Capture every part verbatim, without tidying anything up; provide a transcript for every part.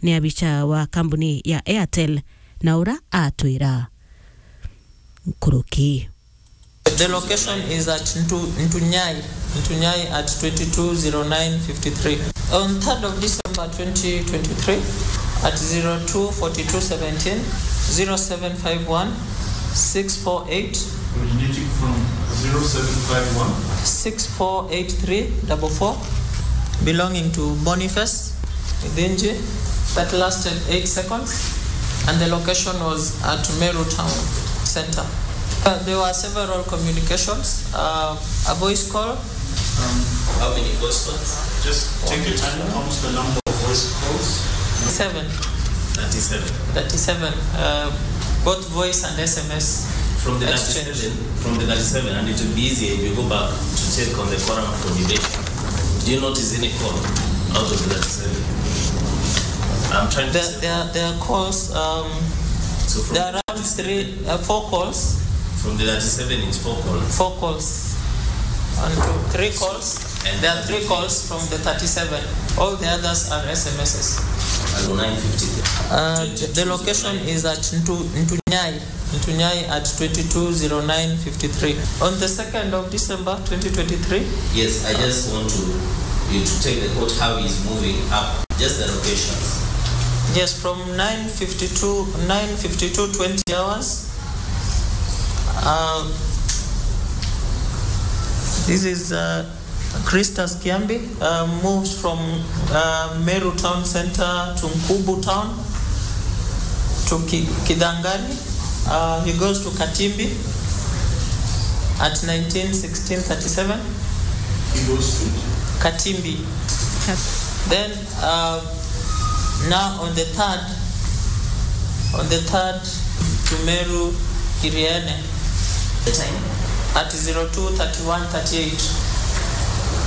ni abicha wa kambuni ya Airtel, na ura atwira nkuruki. The location is at Ntu-, Ntunyai, Ntunyai at twenty-two zero nine fifty-three. On third of December twenty twenty-three, at zero two forty-two seventeen, zero seven five one, six four eight, originating from zero seven five one, six four eight three double four, belonging to Boniface Idinji, that lasted eight seconds, and the location was at Meru Town Center. Uh, there were several communications, uh, a voice call. Um, how many voice calls? Just take your time. Count the number of voice calls. Seven. Thirty-seven. Thirty-seven. Uh, both voice and S M S. From the exchange. Thirty-seven, from the thirty-seven, and it will be easier if you go back to check on the quorum for debate. Do you notice any call out of the thirty-seven? I'm trying to there, say there, there are calls, um, so from there are around three, uh, four calls. From the thirty-seven, it's four calls. Four calls. One, two, three calls. And there are three calls from the thirty-seven. All the others are S M Ss. Hello, nine fifty. Uh, the location is at Ntu-, Ntunyai. Ntunyai at twenty-two zero nine fifty-three. On the second of December twenty twenty-three. Yes, I just want to, you to take the court how he's moving up. Just the locations. Yes, from nine fifty-two, nine fifty-two twenty hours. Uh, this is, uh, Christus Kiambi, uh, moves from, uh, Meru Town Center to Nkubu Town to Ki-, Kidangani. Uh, he goes to Katimbi at nineteen sixteen thirty-seven. He goes to? Katimbi. Then, uh, now on the third, on the third to Meru Kiriene. The time? At zero two thirty-one thirty-eight.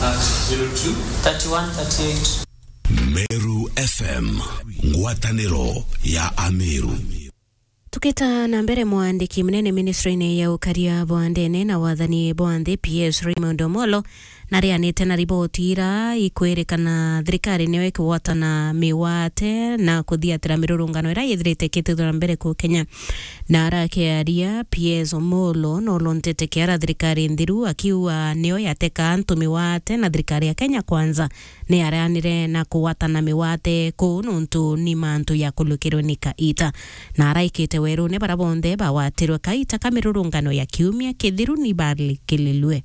At zero two? Thirty-one thirty-eight. Meru F M, ngwataniro ya Ameru. Tukita na mbere, mwandiki munene ministry-ini ya ukaria bwa ndene na wathani bwa nthi, P S Raymond Omolo, narianite na riboti ira ikwirikana thirikari niyo ikigwatana miwate na kuthiatira mirurungano ira yithirite ikitithwa na mbere ku Kenya. Na arakiaria, P S Omolo nolontete kiara thirikari nthiru, akiuga niyo yateka antu miwate na thirikari ya Kenya Kwanza ni yareanire na kugwatana miwate kuu nuntu ni mantu ya kulukirwe ni kaita. Na araikite werune bara bonthe bagwatirwe kaita ka mirurungano ya kiumia kithiru ni barikililwe.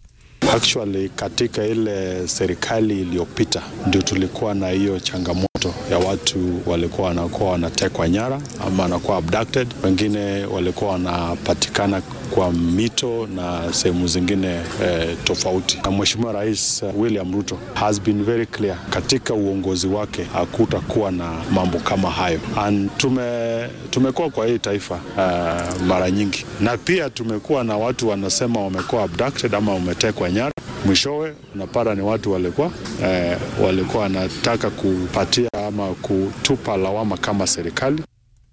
Actually, katika ile serikali iliyopita ndio tulikuwa na hiyo changamoto ya watu walikuwa wanakuwa wanatekwa nyara ama wanakuwa abducted, wengine walikuwa wanapatikana kwa mito na sehemu zingine, eh, tofauti. Na Mheshimiwa Rais, eh, William Ruto has been very clear, katika uongozi wake hakutakuwa na mambo kama hayo. And tume-, tumekuwa kwa hii taifa, eh, mara nyingi, na pia tumekuwa na watu wanasema wamekuwa abducted ama wametekwa nyara, mwishowe unapata ni watu walikuwa, eh, walikuwa wanataka kupatia ama kutupa lawama kama serikali.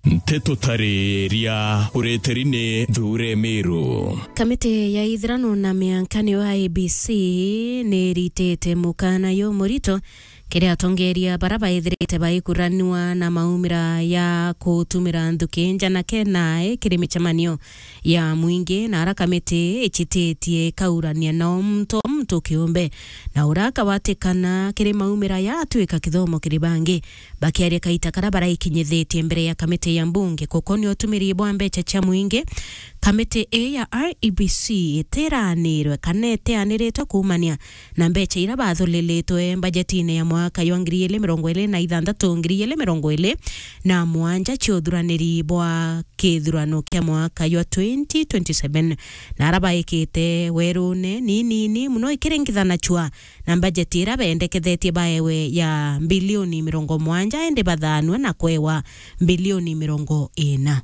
Nteto tariria ureteri ni Thuure Miru. Kamiti ya ithirano na mianka niyo I E B C ni iritite mukana yo murito kiri atongeria bara baithirite baikuranua na maumira ya kutumira nthuki njanake nae kiri micemanio ya mwingi, na ara kamiti icititie ikaurania na o muntu o muntu kiumbe, na ura akawatikana kiri maumira ya atwika kithomo kiri bangi. Bakiaria kaita kara baraikinyithitie mbere ya kamiti ya mbunge kukonia utumiri bwa mbecha cia mwingi, kamiti ii ya I E B C itiranirwe kana itianiritwe kuumania na mbecha ira bathulilitwe mbajetine ya mwaka jwa ngiri igiri mirongo iri na ithanthatu, ngiri igiri mirongo iri na mugwanja cia uthuraniri bwa kithurano kia mwaka jwa twenty twenty-seven, na ara baikite werune ni nini mono ikiringithanachua na mbajeti ira bendekethetie baewe ya mbilioni mirongo mugwanja, indi bathanue na kwewa mbilioni mirongo ina.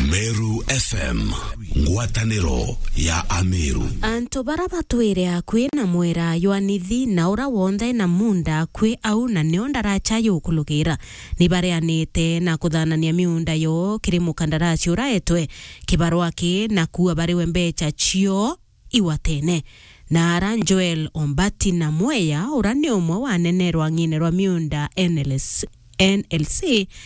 Meru F M, ngwataniro ya Ameru. Antu bara batwire akui na mwera jwa Nithi na ura wonthe na munda akui au na nio ndaracha yukulugira, ni bareanite na kuthanania miunda yo kiri mukandarasi uraetwe kibarua ki na kuua bariwe mbecha cio igwatene. Na ara Joel Ombati na Mweya, ura ni umwe wa anene rwang'ine rwa miunda N L S, N L C,